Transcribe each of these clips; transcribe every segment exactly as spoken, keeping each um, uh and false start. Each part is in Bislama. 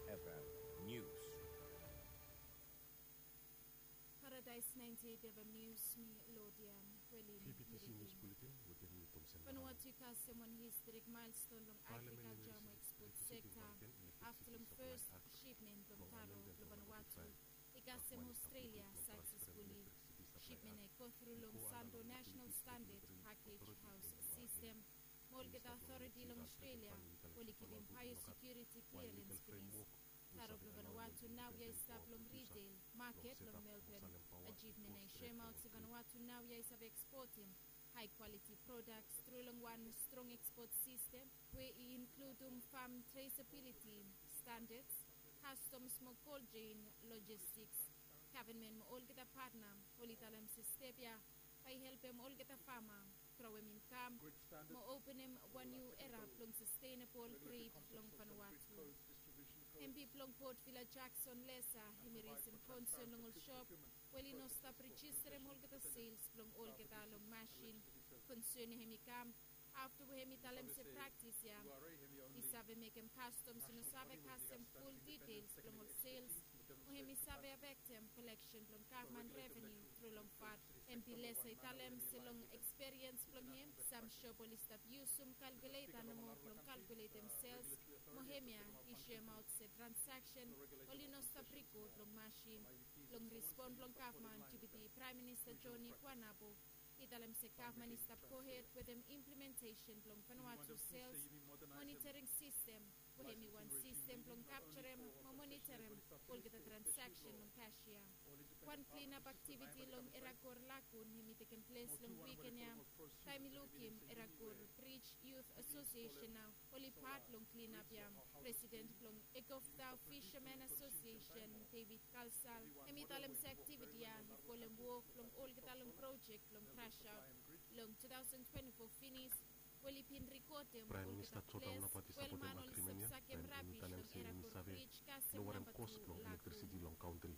F M News. Paradise ninety-eight F M News, mi Lodia Welin. K B T C News Bulletin wetem mi Thompson. Vanuatu i kasem wan historic milestone long agriculture mo export sector afta long first shipment blong taro blong Vanuatu i kasem Australia successfully. Shipment i go through long Santo National Standard Package House System mo olgeta authority long Australia oli givim biosecurity clearance finis. Taro blong Vanuatu naoia i stap long retail market long Melbourne. Achievement i shoemaot se Vanuatu naoia i save exportim high quality products tru long wan strong export system we i includum farm traceability standards, customs mo cold chain logistics. Government mo olgeta partner oli talem se step ia bae i helpem olgeta farmer growem income mo openem wan niu era blong sustainable trade long Vanuatu. M P blong Port Vila Jackson Lesa hemi resem concern long ol shop we oli no stap registerem olgeta sales blong olgeta long masin. Concern ia hemi kam afta we hemi talem se praktis ia i save mekem customs i no save kasem ful details blong ol sales mo hemi save afektem collection blong gavman revenue tru long fat. M P Lesa i talem se long eksperiens blong hem sam shop oli stap yusum kalkuleta nomo blong kalkuletem sales mo hemia i shoemaot se transaksen oli no stap rekod long masin. Long respon blong gavman, Deputy Praem Minista Joni Kuanapo i talem se gavman i stap gohed wetem implementesen blong Vanuatu sales monitoring sistem we hemi wan sistem blong kapjarem mo monitorem olgeta transaksen long kasia. Wan klinap aktiviti long Eragor Lagun hemi tekem ples long wiken ia taem i lukim Eragor Bridge Youth Association nao oli pat long klinap ia. Presiden blong Ekofdau Fisherman Association, David Kalsal, hemi talem se aktiviti ia i folem wok blong olgeta long projek blong krasaot long two thousand twenty-four finis we oli bin rekodem olgeta ples we ol man oli stap sakem rabis long Eragor Bridge kasem namba tu Lagun.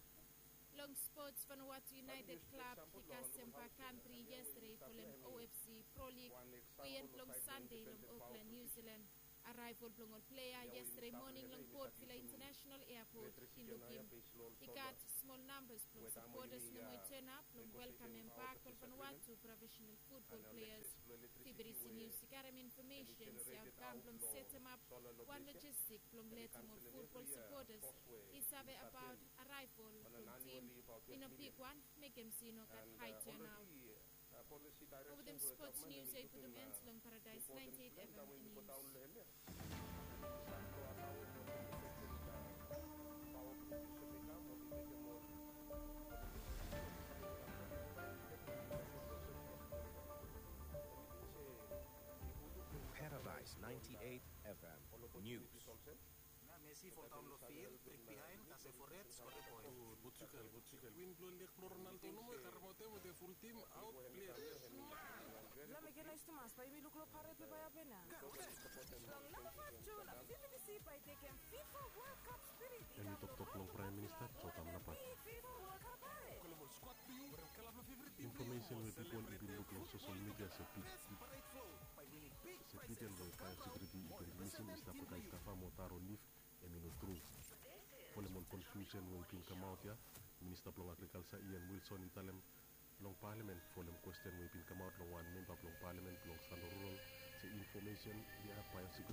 Long sports, Vanuatu United Club i kasem bak kantri yestede folem O F C Pro League weekend blong Sande long Auckland, New Zealand. Arrival blong ol plea yestede moning long Port Vila International Airport i lukim i gat smol nambas blong sapotas nomo i tonap blong welkamem bak ol Vanuatu profesenal futbol pleas. Fibri Sinius i karem infomesen se aotkam blong setemap wan logistik blong letem ol futbol sapotas i save abaot arrival blong tim i no bigwan, mekem se i no gat hae tonaot. Mo wetem spots nius ia i putum en long Paradise ninety-eight F M News. Paradise ninety-eight F M News. Messi i foldaon long fil, brik bihaen, kasem fored, skoa poen. Portugal, Portugal. Win blong leg blong Ronaldo nomo i karemaot hem wetem ful tim, aot plea. Lameke naes tumas, bae yumi luk long pared we bae hapen ia. Long namba faef Jun, fifty fifty bae i tekem FIFA World Cup spirit i kam long Praem Minista Jotam Napat. Big FIFA World Cup pared. Infomesen we pipol i bin luk long sosel midia se pit se piden we baeosekiuriti i bin rilisim i stap olgeta i stap fam o taro lif, hemi no tru. Folem ol konfiusen we i bin kamaot ia, Minista blong Agrikalsa Ian Wilson i talem long palamen folem kwesten we i bin kamaot long wan memba blong palamen blong Santo Rural se infomesen ia baeosek